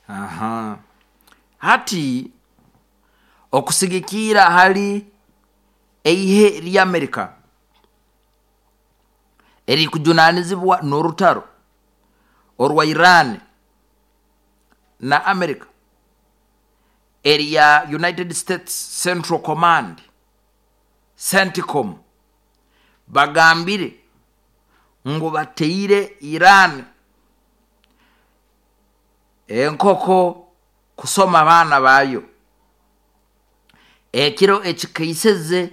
Aha. Hati okusigikirra hali eihe ly'Amerika erirukujunanizibwa n'orutaro orwa Iran na Amerika erya United States Central Command, CENTCOM, bagambire ngu bateire Iran enkoko kusoma abaana baayo. Ekiro ekikeiseze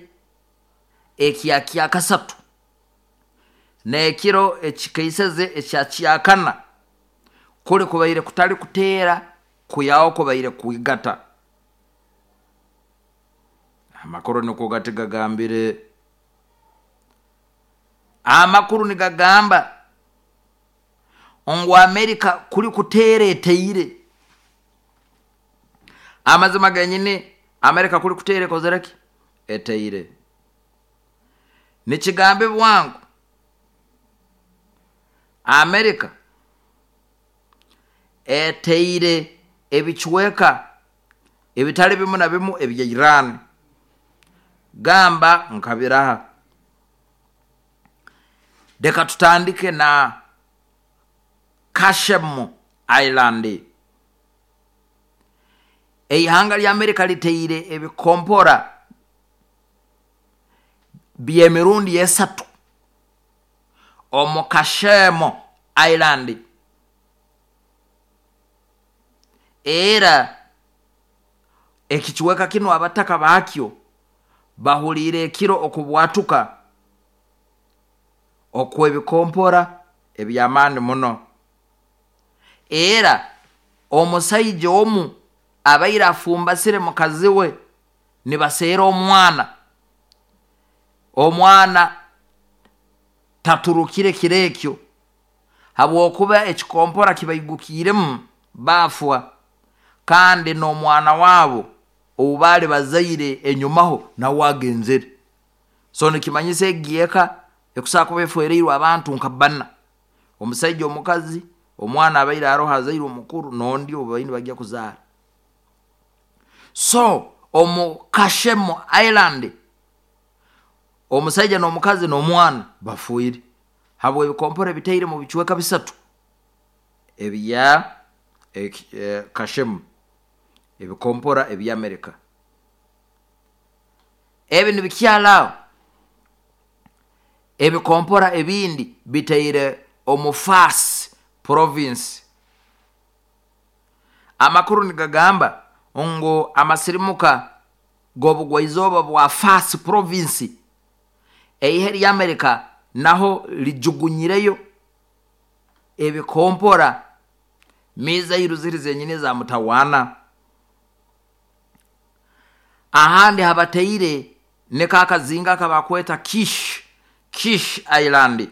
ekya kyakasatu n'ekiro ekikeiseze ekya kyakana kuli kubaire kutali kuteera kwihaho kubaire kwigata. Amakuru nukwo gati gagambire. Amakuru nigagamba ngu Amerika kuli kuteera eteire. Amazima genyini Amerika kuli kuteera ekozere ki? Eteire. Nikigambibwa ngu Amerika eteire ebicweka ebitali bimu na bimu ebya Iran gamba nka biraha. Leka tutandike na Kashem Island. Eihanga lya Amerika liteire ebikompora by'emirundi esatu omu Kashem Island. Era ekicweka kinu abataka bakyo bahuliire ekiro okubwatuka okw'ebikompora eby'amaani muno. Era omusaija omu abaire afumbasire mukazi we nibaseera omwana, omwana taturukire kiro ekyo habwokuba ekikompora kibaigukiiremu baafwa, kandi n'omwana waabo ou baali bazaire enyumaho nawe agenzere. So nikimanyisa egi eka ekusobora kuba efwereirwe abantu nka bbana, omusaija, omukazi, omwana abaire aroho azairwe omukuru n'ondi ou babaire nibagya kuzaara. So omu Kashem Island omusaija n'omukazi n'omwana bafiire habw'ebikompora ebitaire mu bicweka bisatu ebya Kashem, ebikompora eby'Amerika. Ebi nibikyara aho, ebikompora ebindi bitaire omu Fars Province. Amakuru nigagamba ngu amasirimuka g'obugwaizooba bwa Fars Province, eihe ly'Amerika naho lijugunyireyo ebikompora mizairu ziri zenyini eza mutawaana. Ahandi habataire niko akazinga akabakweta Kish, Kish Island.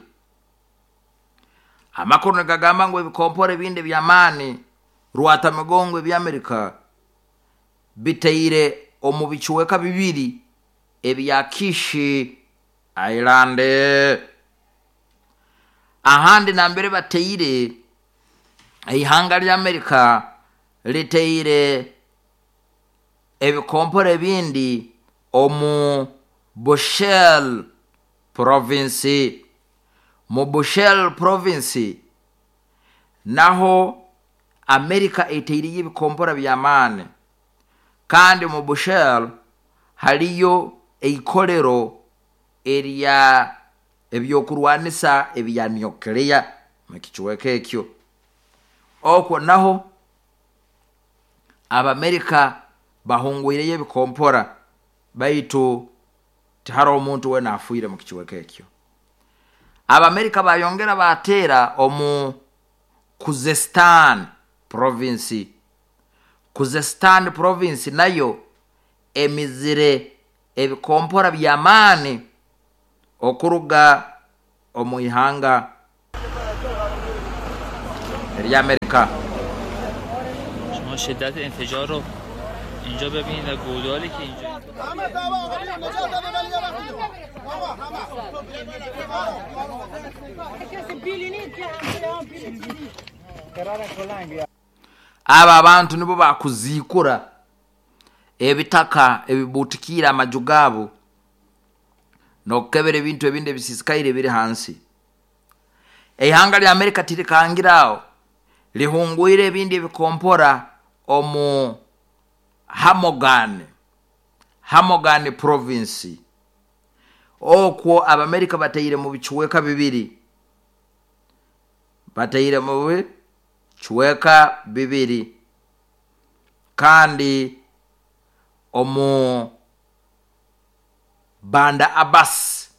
Amakuru nigagamba ngu ebikompora ebindi eby'amaani rwatamigongo eby'Amerika bitaire omu bicweka bibiri ebya Kish Island. Ahandi nambere bataire, eihanga ly'Amerika litaire ebikompora ebindi omu Bushehr Province. Mu Bushehr Province naho Amerika etaireyo ebikompora by'amaani, kandi omu Bushehr haliyo eikolero erya eby'okurwanisa ebya nuclear mu kicweka ekyo. Okwo naho Abamerika bahungwireyo ebikompora baitu tiharoho omuntu weena afiire mu kicweka ekyo. Abamerika bayongera baateera omu Khuzestan Province. Khuzestan Province nayo emizire ebikompora by'amaani okuruga omu ihanga ery'Amerika. شما شدت انفجار رو اینجا ببینید و گودالی که اینجا Abo abantu nibo bakuziikura ebitaka ebibutikiire amaju gaabo n'okukebera ebintu ebindi ebisisikaire ebiri hansi. Eihanga lya Amerika tirikangire aho, lihungwire ebindi ebikompora omu Hamogan, Hamogan Province. Okwo Abamerika bataire mu bicweka bibiri, bataire mu bicweka bibiri, kandi omu Banda Abbas,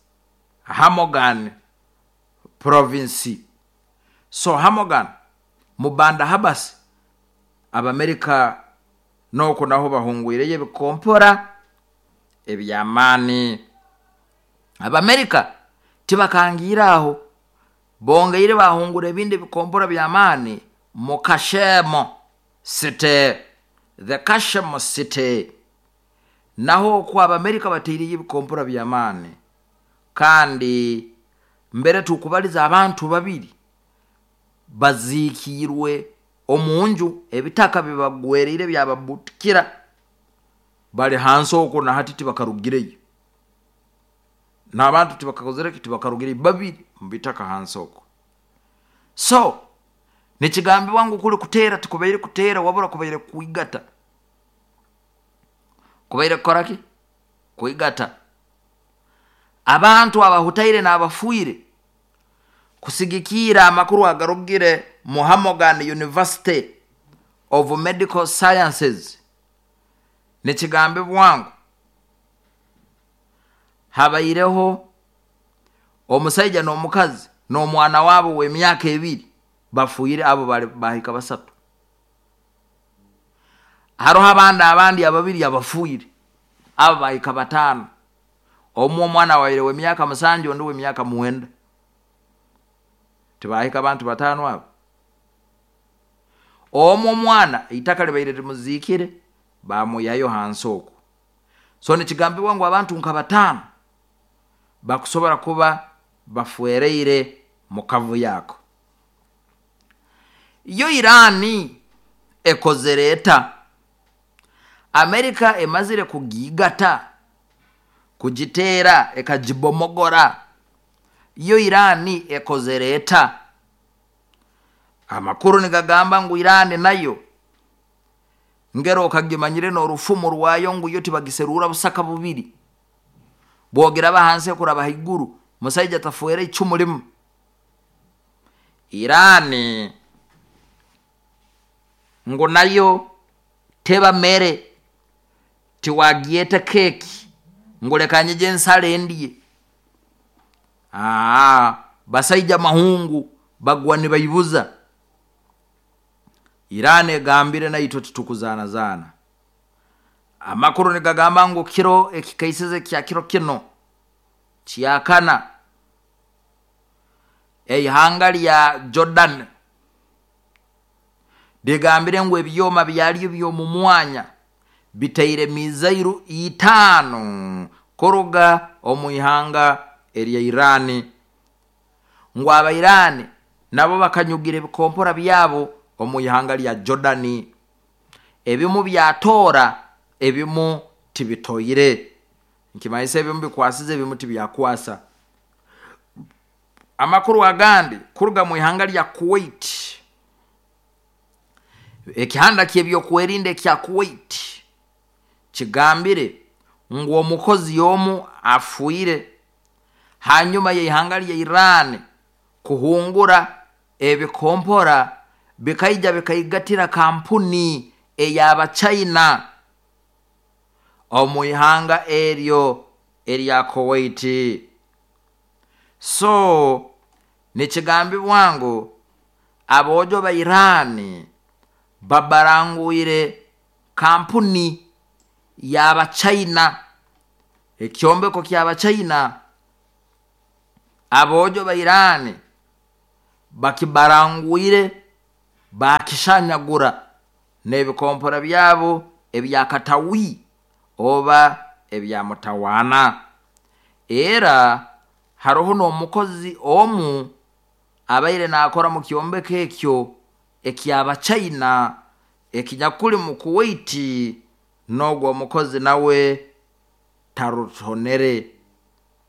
Hamogan Province. So Hamogan mu Banda Abbas, Abamerika n'okwo naho bahungwireyo ebikompora eby'amaani. Abamerika tibakangiire aho, bongeire bahungura ebindi ebikompora by'amaani mu Kashemo City, the Kashemo City. Naho okwo Abamerika bataireyo ebikompora by'amaani, kandi mbere tukubaliza abantu babiri baziikiirwe omu nju, ebitaka bibagwereire byababutukira, bali hansi okwo na hati tibakarugireyo, n'abantu tibakakozere ki, tibakarugireyo, babiri mu bitaka hansi okwo. So nikigambibwa ngu kuli kuteera tikubaire kuteera, wabura kubaire kwigata. Kubaire kukora ki? Kwigata. Abantu abahutaire n'abafiire, kusigikiira amakuru agarugire mu Hamogan University of Medical Sciences, nikigambibwa ngu habaireho omusaija n'omukazi n'omwana wabo w'emyaka 2 bafiire, abo bali bahika 3. Haroho abandi ababiri abafiire, abo bahika 5. Omu omwana waire w'emyaka 7, ondi w'emyaka 9. Tibahika abantu 5 abo. Omu omwana itaka libaire limuziikire, bamuyayo hansi okwo. So nikigambibwa ngu abantu nka 5 bakusobora kuba bafuereire mu kavuyo ako. Yo Irani ekozere eta? Amerika emazire kugigata, kugiteera, ekagibomogora. Yo Irani ekozere eta? Amakuru nigagamba ngu Irani nayo ngero okagimanyire n'orufumu rwayo ngu yo tibagiserura busaka bubiri, bwogiraba hansi ekuraba haiguru, musaija tafuere icumu limu. Irani ngu nayo teba mere, tiwagyeta keki ngu leka nyije ensale ndye. Basaija mahungu bagwa nibaibuza. Irani egambire naitwe titukuzanazana. Amakuru nigagamba ngu kiro ekikaisize kya kiro kino kyakana, eihanga lya Jordan ligambire ngu ebyoma byaryo by'omu mwanya bitaire mizairu 5 kuruga omu ihanga erya Irani. Ngu Abairani nabo bakanyugira ebikompora byabo omu ihanga lya Jordani, ebimu byatora, ebimu tibitoire. Nkimanyisa ebimu bikwasize, ebimu tibyakwasa. Amakuru agandi kuruga mu ihanga lya Kuwait, ekihanda ky'ebyokwerinda ekya Kuwait kigambire ngu omukozi omu afiire hanyuma y'ihanga lya Iran kuhungura ebikompora bikaija bikaigatira kampuni ey'Abachina omu ihanga eryo erya Kuwait. So nikigambibwa ngu aboojo ba Iran babarangwire kampuni y'Abachina, ekyombeko ky'Abachina, aboojo ba Iran bakibarangwire bakishanyagura n'ebikompora byabo ebyakatawi oba ebyamutawaana. Era haroho n'omukozi omu abaire naakora mu kyombeko ekyo eky'Abachina Ekinyakuli mu Kuwait, n'ogu omukozi nawe tarutonere,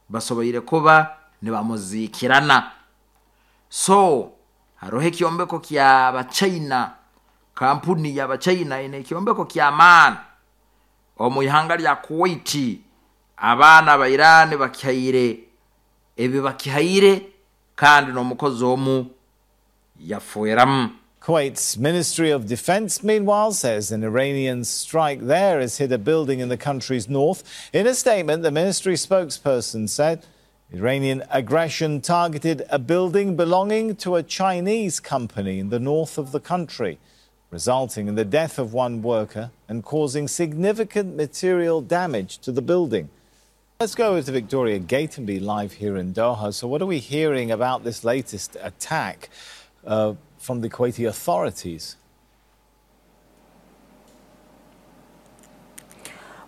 basoboire kuba nibamuziikirana. So haroho ekyombeko ky'Abachina, kampuni y'Abachina ine ekyombeko ky'amaani omu ihanga lya Kuwait. Abaana ba Iran bakihaire ebi bakihaire, kandi n'omukozi omu yafweramu. Kuwait's Ministry of Defense, meanwhile, says an Iranian strike there has hit a building in the country's north. In a statement, the ministry spokesperson said Iranian aggression targeted a building belonging to a Chinese company in the north of the country, resulting in the death of one worker and causing significant material damage to the building. Let's go over to Victoria Gatenby live here in Doha. So, what are we hearing about this latest attack from the Kuwaiti authorities?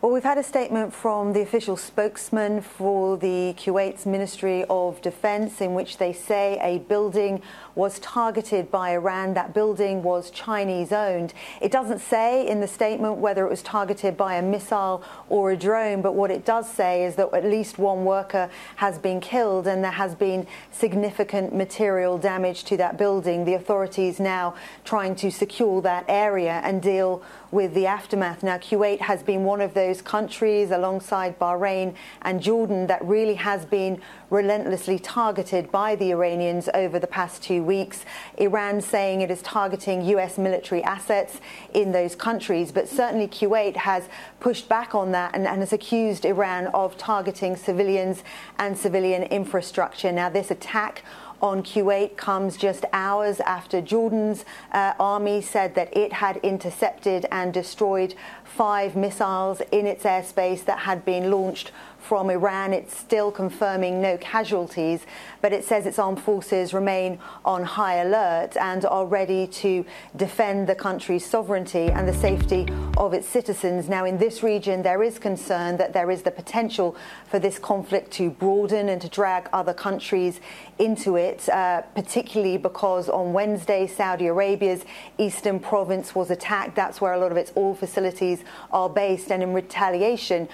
Well, we've had a statement from the official spokesman for the Kuwait's Ministry of Defense in which they say a building was targeted by Iran. That building was Chinese owned. It doesn't say in the statement whether it was targeted by a missile or a drone, but what it does say is that at least one worker has been killed and there has been significant material damage to that building. The authorities now trying to secure that area and deal with the aftermath. Now, Kuwait has been one of those countries alongside Bahrain and Jordan that really has been relentlessly targeted by the Iranians over the past 2 weeks. Iran saying it is targeting US military assets in those countries, but certainly Kuwait has pushed back on that and has accused Iran of targeting civilians and civilian infrastructure. Now, this attack on Kuwait comes just hours after Jordan's army said that it had intercepted and destroyed 5 missiles in its airspace that had been launched from Iran. It's still confirming no casualties, but it says its armed forces remain on high alert and are ready to defend the country's sovereignty and the safety of its citizens. Now, in this region, there is concern that there is the potential for this conflict to broaden and to drag other countries into it, particularly because on Wednesday, Saudi Arabia's eastern province was attacked. That's where a lot of its oil facilities are based. And in retaliation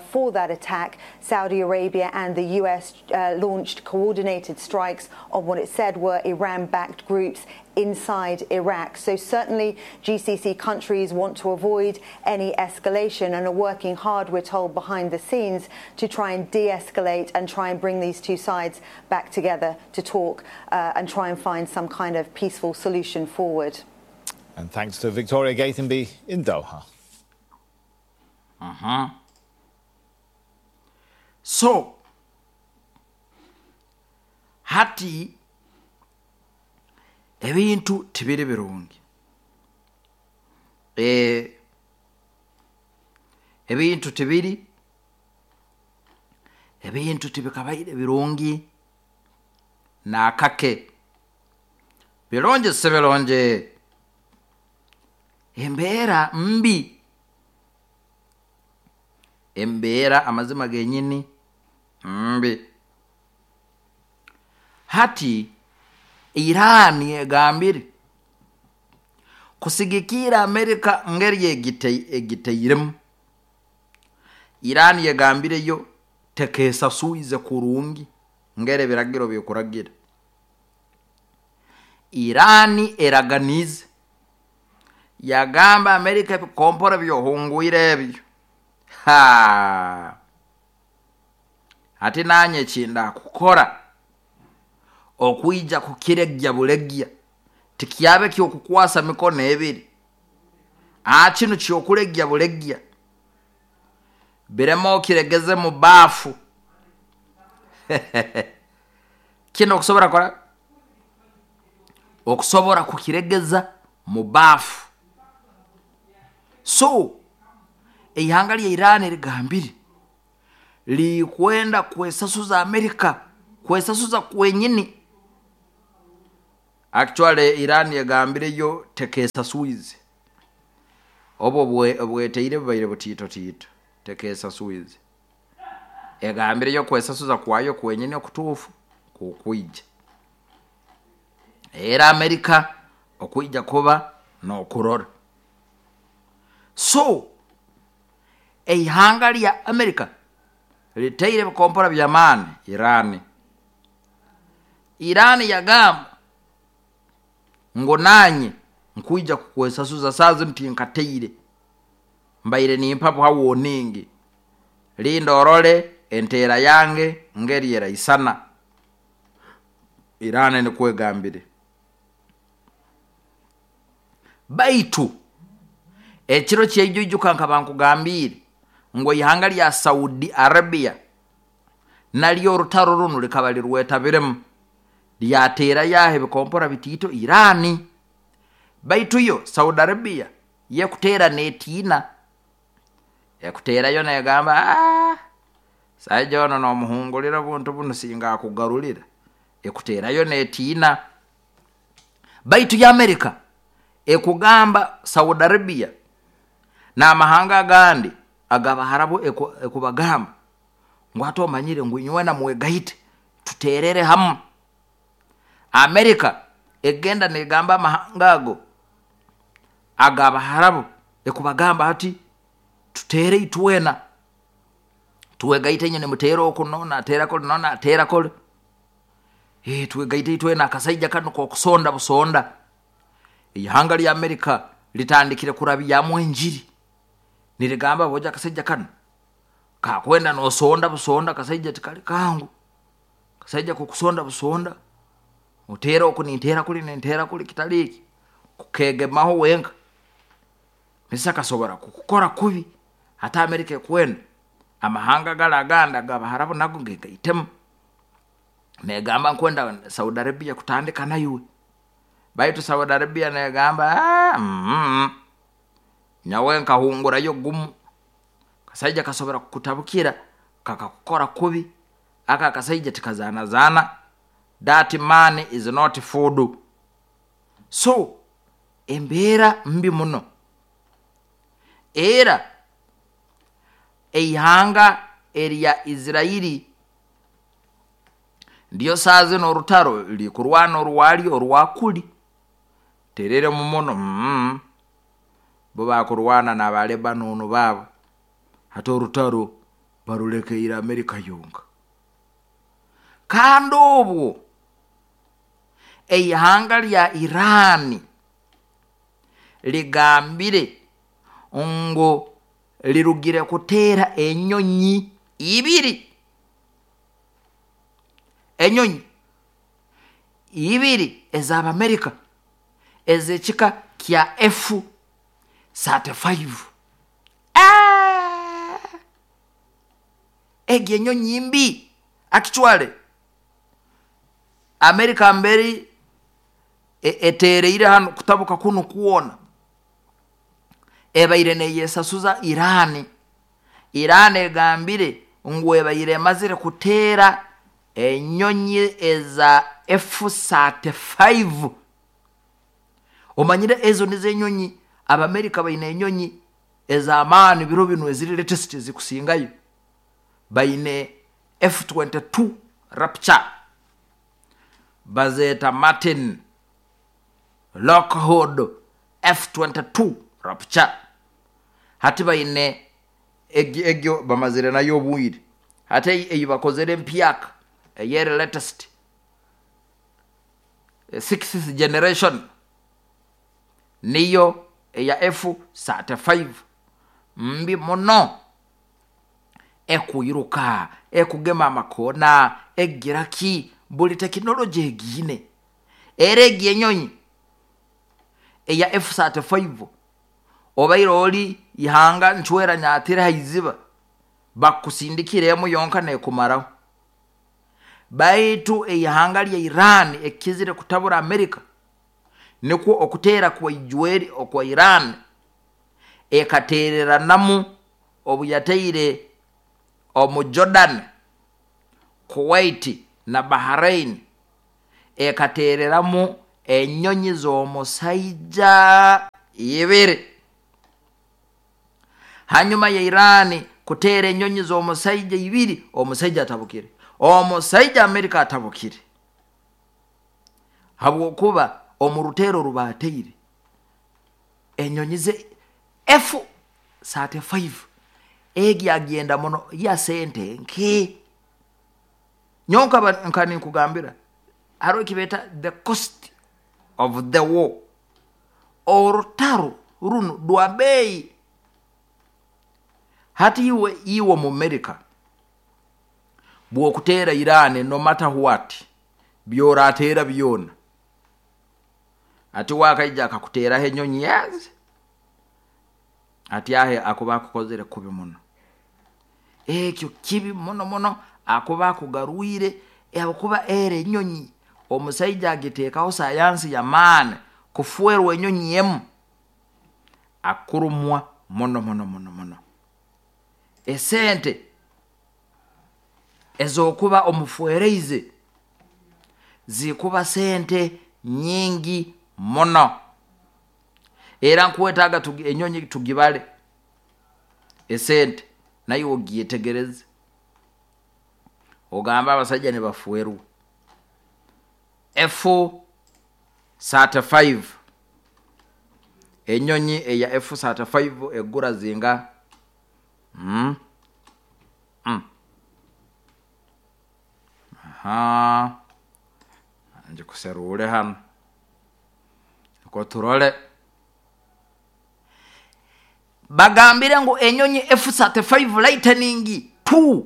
for that attack, Saudi Arabia and the US launched coordinated strikes on what it said were Iran-backed groups inside Iraq. So certainly GCC countries want to avoid any escalation and are working hard, we're told, behind the scenes to try and de-escalate and try and bring these two sides back together to talk and try and find some kind of peaceful solution forward. And thanks to Victoria Gatenby in Doha. Uh-huh. So, hati ebintu tibiri birungi. Ebintu tibiri, ebintu tibikabaire birungi nakake. Birungi si birungi. Embeera mbi. Embeera amazima genyini mbi. Hati Iran egambire kusigikira Amerika ngeri egiteiremu. Iran yegambireyo tekesasuize kurungi ngere biragiro byokuragira. Iran eraganize yagamba Amerika bikompora byohunguire ebyo. Ha! Ati nanye kinda kukora okuija kukiregya bulegya tikyabe kyokukwasa mikono ebiri. Kino kyokulegya bulegya biremo kiregeze mu bafu. Kino okusobora kola okusobora kukiregeza mu bafu. So eihanga lya Iran ligambire likwenda kwesasuza Amerika, kwesasuza kwenyini. Actually Iran yagambireyo tekesasuize. Obo bweteire bubaire butito tito tekesasuize. Yagambireyo kwesasuza kwayo kwenyini okutuufu kukwija. Era Amerika okuija kuba n'okurora. So eihanga lya Amerika liteire ebikompora by'amaani Irani. Irani yagamba ngu nanye nkwija kukwesasuza, saaha zinu tinkateire, mbaire nimpa buha warning, linda orole enteera yange ngeri eraisana. Irani nikwo egambire. Baitu ekiro kyaijo ijuka nkaba nkugambiire ngu eihanga lya Saudi Arabia naryo orutaro runu rikaba rirwetabiremu, lyateerayo aho ebikompora bitiito Irani. Baitu yo Saudi Arabia yekuteera neetiina, ekuteerayo negamba, saija ono nomuhungulira obuntu bunu singa akugarulira, ekuteerayo neetiina. Baitu yo Amerika ekugamba Saudi Arabia n'amahanga agandi ag'Abaharabu ekubagamba ngu hati omanyire ngu inywena mwegaite tuteerere hamu. Amerika egenda negamba amahanga ago ag'Abaharabu ekubagamba hati tuteere itwena, twegaite inywe nimuteera oku noonu ateera kuli noonu ateera kuli, twegaite itwena akasaija kanu k'okusonda busonda. Ihanga lya Amerika litandikire kurabyamu enjiri nirigamba boja akasaija kanu kakwenda nosonda busonda, akasaija tikali kangu, kasaija kokusonda busonda, oteera oku ninteera kuli ninteera kuli, kitali eki kukegemaho wenka misa kasobora kukukora kubi. Hati Amerika ekwenda amahanga gali agandi ag'Abaharabu nago gegaitemu, negamba nkwenda Saudi Arabia kutandika naiwe. Baitu Saudi Arabia negamba nyowe nkahungurayo gumu, kasaija kasobora kukutabukira kakakukora kubi, aka akasaija tikazanazaana, that man is not food. So embeera mbi muno. Era eihanga erya Isirairi ndyo saaha zinu orutaro rikurwana orwaryo orwakuli teriremu muno, bo bakurwana n'aba Lebanon baabo, hati orutaro barulekeire Amerika yonka. Kandi obwo eihanga lya Irani ligambire ngu lirugire kuteera enyonyi ibiri, enyonyi ibiri ez'Abamerika ez'ekika kya F-35. Egi enyonyi mbi actually Amerika mberi eteereire hanu kutabuka kunu kwona ebaire neyesasuza Irani. Irani egambire ngu ebaire emazire kuteera enyonyi eza F-35. Omanyire ezo nizo enyonyi, Abamerika baine enyonyi ez'amaani biro binu eziri latest ezikusingayo. Baine F-22 Rapture, bazeeta Martin Lockheed F-22 Rapture. Hati baine egyo bamazire nayo obwire, hati eyi bakozere empyaka eyeri latest 6th generation niyo eya F-35, mbi muno, ekwiruka, ekugema amakoona, egira ki, buli tekinologi egiine. Era egi enyonyi eya F-35 obaire ori ihanga ncwera nyatire haiziba, bakusindikira emu yonka nekumaraho. Baitu eihanga lya Iran ekizire kutabura Amerika nikwo okuteera kwa ijweri okwa Iran ekateereranamu obu yateire omu Jordan, Kuwait na Bahrain, ekateereramu enyonyi z'omusaija ibiri. Hanyuma ya Iran kuteera enyonyi z'omusaija ibiri, omusaija atabukire, omusaija Amerika atabukire, habwokuba omu ruteero oru baateire enyonyi ze 35 egi agenda muno ya sente nke. Nyonka nkani nkugambira hariho ekibeeta the cost of the war. Orutaro runo rwa beeyi. Hati iwe mu America bw'okuteera Iran, no matter what byorateera byona, ati wakaija akakuteeraho enyonyi yazi, ati ahe akuba akukozere kubi muno. Ekyo kibi muno muno, akuba akugarwire akuba era enyonyi omusaija agiteekaho sayansi y'amaani kufuerwa enyonyi emu akurumwa muno muno muno muno. Esente ez'okuba omufuereize zikuba sente nyingi muno. Era nkwetaaga enyonyi tugibale esente naye ogyetegereze, ogamba abasajja nibafuerwa. F35, enyonyi eya F35 egura zinga aha njikuserure hano niko turole. Bagambire ngu enyonyi F35 Lightning 2,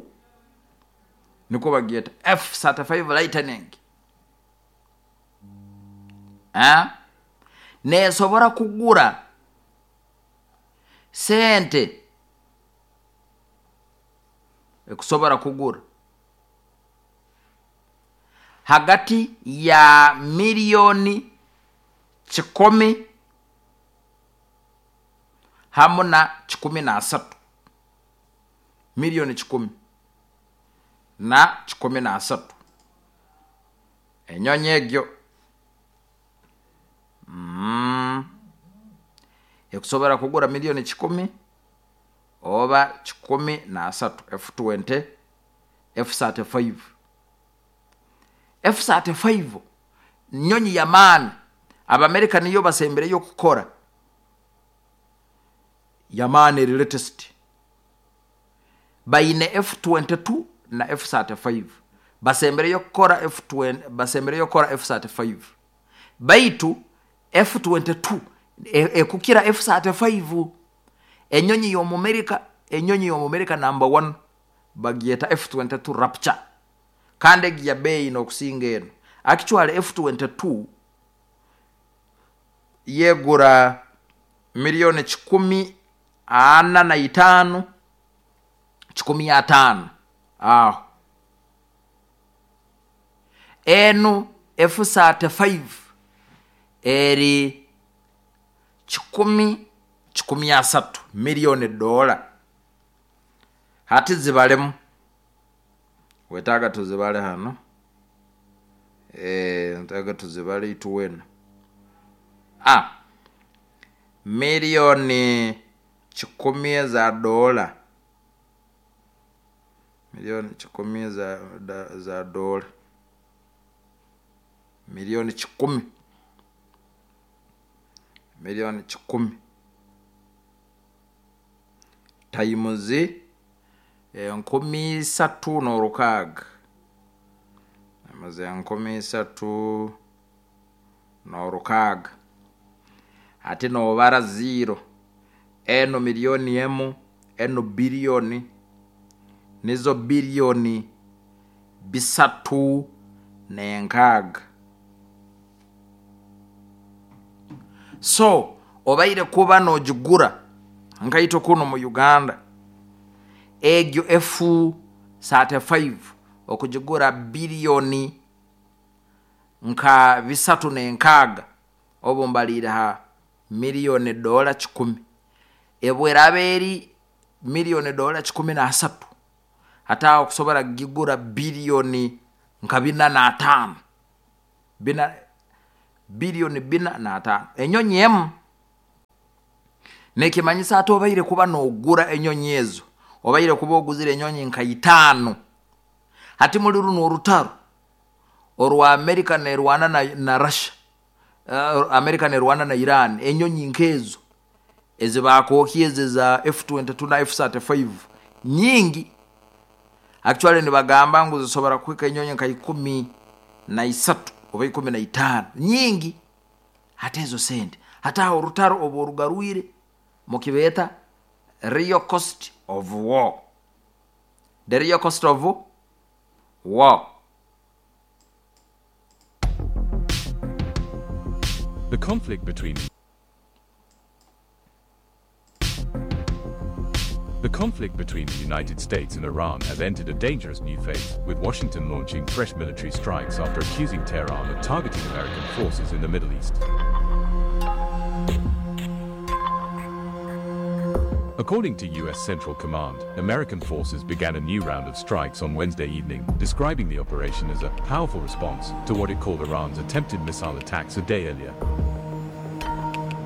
niko bagyeta F35 Lightning, nesobora kugura sente ekusobora kugura hagati ya milioni 100 hamu na 13, milioni 10 na 13 enyonyi egyo ekusobora kugura milioni 10 oba 13 F20 F35. F35 nyonyi ya maani. Abamerika niyo basembereyo kukora yamaani latest. Baine F22 na F35, basembereyo kukora F20, basembereyo kukora F35. Baitu F22 ekukira F35. Enyonyi y'Omumerika, enyonyi y'Omumerika number 1 bagyeta F22 Rapture, kandi egi ya beeyi n'okusinga eno. Actually F22 yegura milioni 145, 105 aho. Enu F35 eri 113 milioni dola. Hati zibalemu, wetaaga tuzibale hano, ntaaga tuzibale ituwena milioni 10 za dola, milioni 10 za dola, milioni 10, milioni 10 times 36, amaze 36 ate nobara 0 eno milioni emu eno bilioni nizo bilioni 306. So obaire kuba nojigura nkaito kuno mu Uganda egyo F35 okujigura bilioni nka 306, obo mbalire ha milioni dola 10. Ebweraberi milioni dola 13, hata okusobora gigura bilioni nka 45, bilioni 45 enyonyi emu. Nekimanyisa ate obaire kuba nogura enyonyi ezo, obaire kuba oguzire enyonyi nka 5. Hati muri runo orutaro orwa America nerwana na Russia, America nerwana na Iran, enyonyi nkezo Ezibakokyeze za F22 na F35 nyingi, actually nibagamba ngu zisobora kuhika enyonyi nka 13 oba 15, nyingi. Hati ezo sente, hati aho orutaro oba orugarwire mukibeeta real cost of war, the real cost of war. The conflict between The conflict between the United States and Iran has entered a dangerous new phase, with Washington launching fresh military strikes after accusing Tehran of targeting American forces in the Middle East. According to U.S. Central Command, American forces began a new round of strikes on Wednesday evening, describing the operation as a powerful response to what it called Iran's attempted missile attacks a day earlier.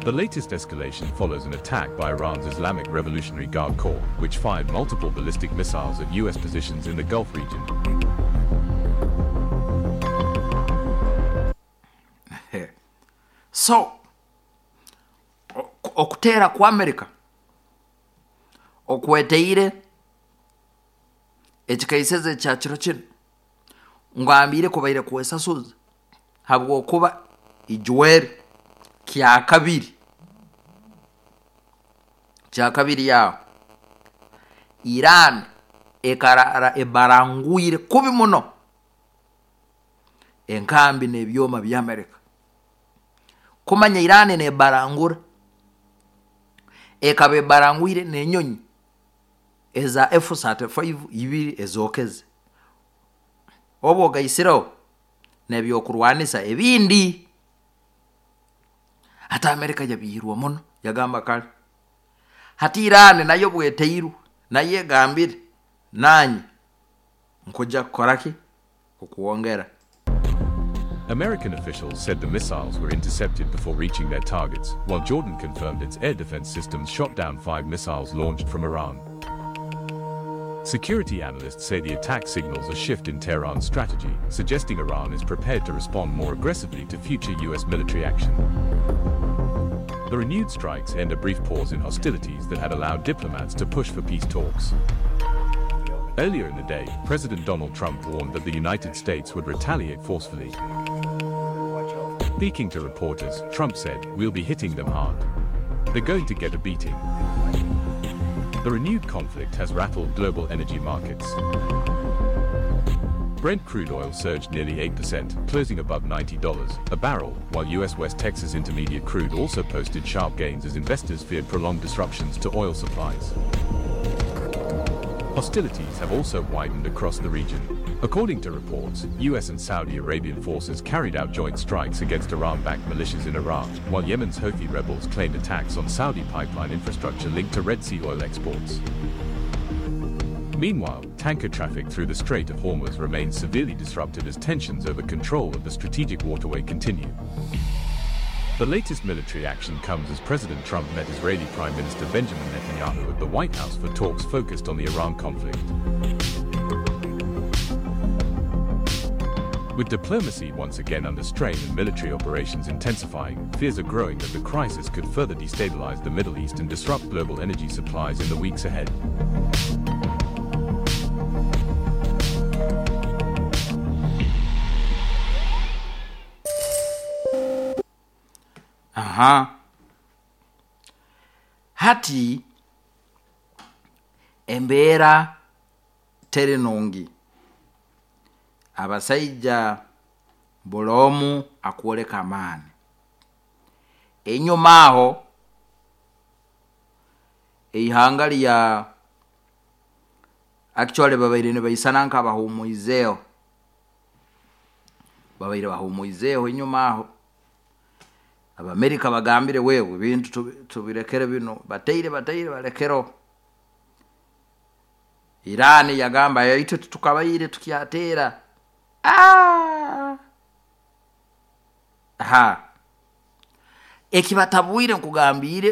The latest escalation follows an attack by Iran's Islamic Revolutionary Guard Corps, which fired multiple ballistic missiles at U.S. positions in the Gulf region. So okuteera kwa Amerika okweteire ekikaiseze kya kiro kino ngambire kubaire kwesasuza, habwokuba ijweri kyakabiri kyakabiri yaho Iran ekarara ebarangwire kubi muno enkambi n'ebyoma bya Amerika. Kumanya Iran nebarangura, ekaba ebarangwire n'enyonyi eza F35 ibiri ezokeze, oba ogaisireho n'ebyokurwanisa ebindi. Hati Amerika yabiirwa muno, yagamba kale hati Iran nayo bweteirwe, nayo egambire nanye nkuja kukoraki okuwongera. American officials said the missiles were intercepted before reaching their targets, while Jordan confirmed its air defense systems shot down 5 missiles launched from Iran. Security analysts say the attack signals a shift in Tehran's strategy, suggesting Iran is prepared to respond more aggressively to future U.S. military action. The renewed strikes end a brief pause in hostilities that had allowed diplomats to push for peace talks. Earlier in the day, President Donald Trump warned that the United States would retaliate forcefully. Speaking to reporters, Trump said, "We'll be hitting them hard. They're going to get a beating." The renewed conflict has rattled global energy markets. Brent crude oil surged nearly 8%, closing above $90 a barrel, while U.S. West Texas Intermediate crude also posted sharp gains as investors feared prolonged disruptions to oil supplies. Hostilities have also widened across the region. According to reports, U.S. and Saudi Arabian forces carried out joint strikes against Iran-backed militias in Iraq, while Yemen's Houthi rebels claimed attacks on Saudi pipeline infrastructure linked to Red Sea oil exports. Meanwhile, tanker traffic through the Strait of Hormuz remains severely disrupted as tensions over control of the strategic waterway continue. The latest military action comes as President Trump met Israeli Prime Minister Benjamin Netanyahu at the White House for talks focused on the Iran conflict. With diplomacy once again under strain and military operations intensifying, fears are growing that the crisis could further destabilize the Middle East and disrupt global energy supplies in the weeks ahead. Aha. Hati embeera teri nungi, abasaija buli omu akwoleka amaani. Enyuma aho eihanga lya actually babaire nibaisana nk'abahumwizeeho, babaire bahumwizeeho enyuma aho. Abamerika bagambire wewe ebintu tubirekere bino, bataire balekero. Iran yagamba itwe tukabaire tukyateera. Aha, ekibatabwire nkugambire.